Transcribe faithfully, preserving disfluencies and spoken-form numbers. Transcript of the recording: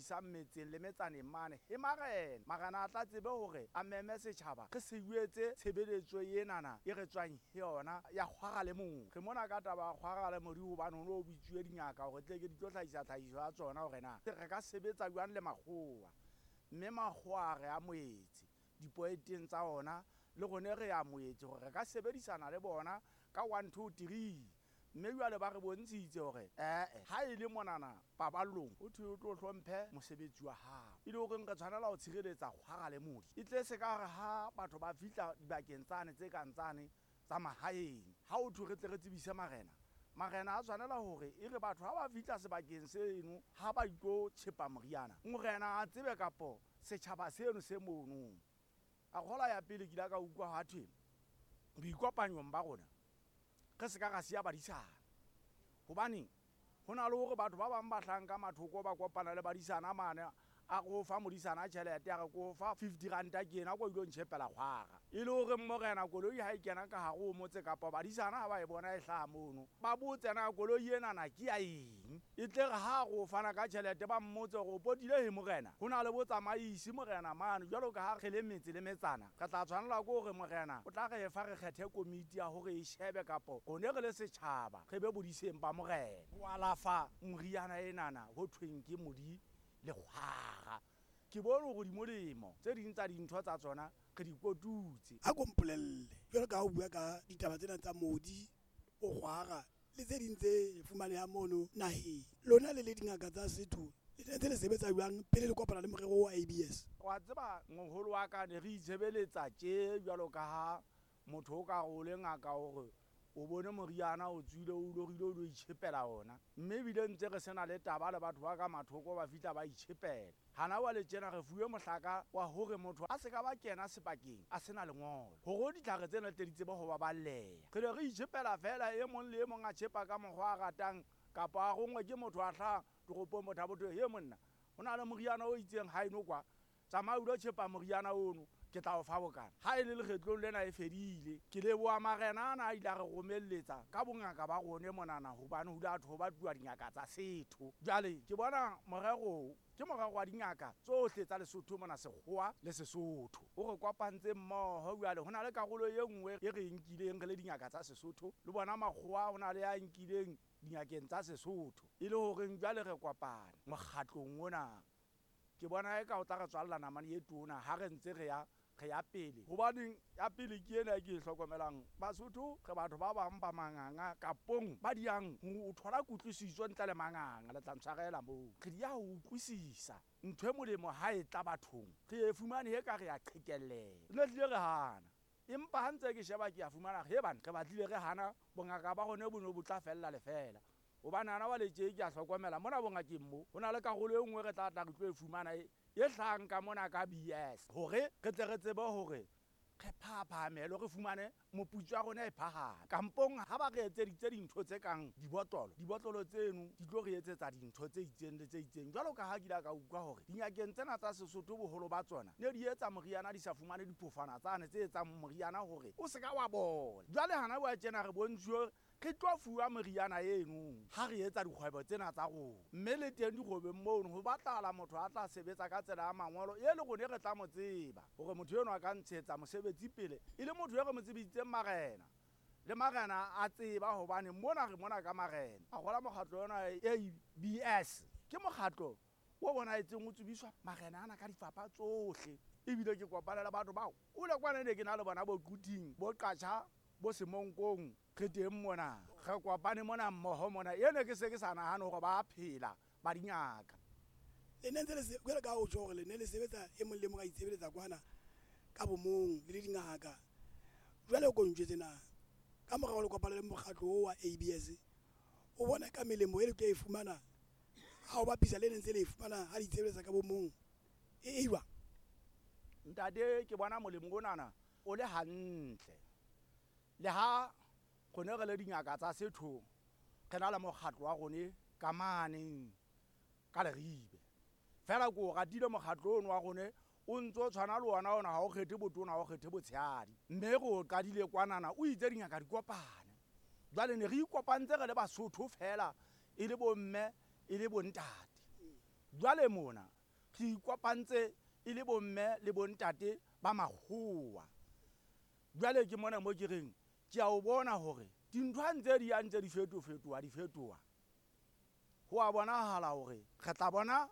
isang metseng le metsaneng mane he marena. Marena a tla tsebe hore a meme setjhaba re se etse tshebeletso enana e re tswang he yona ya kgwara le modi. Re mona ka taba ya kgwara le modi hobane ho no bitsuwe dingaka hore tle ke di tlo hlahisa tlhahiso ya tsona hore na re ka sebetsa jwang le makgowa. Mme makgowa re amohetse dipoeteng tsa ona le rone re amohetse hore re ka sebedisana le bona ka one two three. Mme jwale ba re bontshitse hore ee ha e le monana paballong ho thwe o tlo hlomphe mosebetsi wa hao, e le horeng re tshwanela ho tshireletsa kgwara le modi. E tle se ka hore ha batho ba fihla dibakeng tsane tse kang tsane tsa mahaeng, ha ho thwe re tle re tsebise marena, marena a tshwanela hore e re batho ha ba fihla sebakeng seno ha ba itlo tjhepa moriana, morena a tsebe kapo setjhaba seno se mono. A kgola ya pele ke ile ka utlwa ha thwe boikopanyong ba rona re se ka ra siya badisana, hobane ho na le hore batho ba bang ba hlahang ka mathoko ba kopana le badisana mane, a re o fa modisana tjhelete, a re ko fa fifty ranta ke ena ko ilo ntjhepela kgwara. E le hore morena koloi ha e kena ka hare ho motse kapa badisana ha ba e bona e hlaha mono, ba botse na koloi enana ke ya eng. E tle re ha re o fana ka tjhelete ba mmotse hore o potile he morena, ho na le botsamaisi morena mane. Jwalo ka ha re le metse le metsana, re tla tshwanela ke hore morena o tla re fa re kgethe komiti ya hore e shebe kapo rone re le setjhaba re be bodiseng ba morena. Ho alafa moriana enana ho thweng ke modi le kgwara. Ke bone hore di molemo, tse ding tsa dintho tsa tsona re di kotutse. A ko mpolelle jwalo ka ha o bua ka ditaba tsena tsa modi o kgwara le tse ding tse fumanehang mono naheng, lona le le dingaka tsa setho le ntse le sebetsa jwang pele le kopana le morero wa A B S? Wa tseba moholo wa ka ne re itshebeletsa tje jwalo ka ha motho o ka re o le ngaka hore o bone moriana o tswile o lorile o lo itjhepela ona, mme ebile ntse re sena le taba le batho ba ka mathoko ba fihla ba itjhepela. Hana jwale tjena re fuwe mohlaka wa hore motho a se ka ba kena sebakeng a sena lengolo, hore ditlhare tsena tle di tsebe ho baballeha. Re ne re itjhepela feela, e mong le e mong a tjhepa ka mokgwa a ratang, kapa a rongwe ke motho a hlaha toropong motho a botho, he monna ho na le moriana o itseng haeno kwa, tsamaya o lo tjhepa moriana ono, ke tla o fa bokana. Ha e le lekgetlong lena e fedile. Ke leboha marena ana a ile a re romelletsa ka bongaka ba rone monana, hobane ho ile ha thwe ho batluwa dingaka tsa setho. Jwale ke bona morero ke morero wa dingaka tsohle tsa Lesotho mona, Sekgowa le Sesotho, o re kopantse mmoho. Jwale ho na le karolo e nngwe e re nkileng re le dingaka tsa Sesotho, le bona makgowa ho na le ya nkileng dingakeng tsa Sesotho, e le horeng jwale re kopane mokgatlong ona. Ke bona eka o tla re tswalla namane e tona ha re ntse re ya re ya pele, hobaneng ya pele ke ena e ke e hlokomelang. Basotho re batho ba bang ba manganga kapong ba diang ho thola kutlwisiso ntle le manganga, le tla ntshwarela moo. Re di ya ho utlwisisa ntho e molemo ha e tla bathong, re e fumane he ka re ya qhekelleha. Re tlile re hana, empa ha ntse ke sheba ke ya fumana he bana re batlile re hana, bongaka ba rona bo ne bo tla fella lefela. Hobane hana jwale tje ke a hlokomela mona bongakeng mo ho na le karolo e nngwe re tla tla re tlo e fumana e e hlahang ka mona ka B S, hore re tle re tsebe hore re phaphamelo re fumane moputso wa rona e phahame. Kampong ha ba re etseditse dintho tse kang dibotlolo, dibotlolo tseno di tlo re etsetsa dintho tse itseng le tse itseng. Jwalo ka ha ke ile ka utlwa hore dingakeng tsena tsa Sesotho boholo ba tsona ne di etsa moriana di sa fumane diphofana tsane tse etsang moriana hore o se ka wa bola. Jwale hana wa tjena re bontshuwe re tlo fuwa moriana eno ha re etsa dikgwebo tsena tsa rona, mme le teng dikgwebong mono ho batlahala motho a tla sebetsa ka tsela ya mangolo e le rone re tla mo tseba hore motho enwa a ka ntshetsa mosebetsi pele, e le motho e re mo tsebisitseng marena le marena a tseba hobane mona re mona ka marena. A gola mokgatlo ona A B S ke mokgatlo o bonahetseng o tsebiswa marena ana ka difapha tsohle, ebile ke kopana le batho bao o le kwana ne ke na le bona bo Quthing, bo Qacha, bo Semonkong, re teng mona re kopane mona mmoho mona. Ene ke se ke sa nahane hore ba phela ba dingaka. Le ne ntse le se, jwalo ka ha o tjho hore le ne le sebetsa e mong le mong a itshebeletsa kwana ka bomong le le dingaka. Jwale o ko ntjwetse na ka morao le kopana le mokgatlo oo wa A B S, o bona ka melemo e le tlo e fumana ha o bapisa le ne ntse le e fumana ha le itshebeletsa ka bomong e e jwang? Ntate, ke bona molemo onana o le hantle. Le ha rone re le dingaka tsa setho re na le mokgatlo wa rone ka mane ka Leribe, fela ke o ratile mokgatlo ono wa rone o ntso tshwana le ona ona, ha o kgethe botona, ha o kgethe botshehadi, mme re o qadile kwanana o itse dingaka di kopane. Jwale ne re ikopantse re le Basotho fela, e le bomme e le bontate. Jwale mona Re ikopantse e le bomme le bontate ba makgowa. Jwale ke mona mo ke reng ke a o bona hore dintho ha ntse di ya ntse di fetofetoha di fetoha, ho a bonahala hore re tla bona.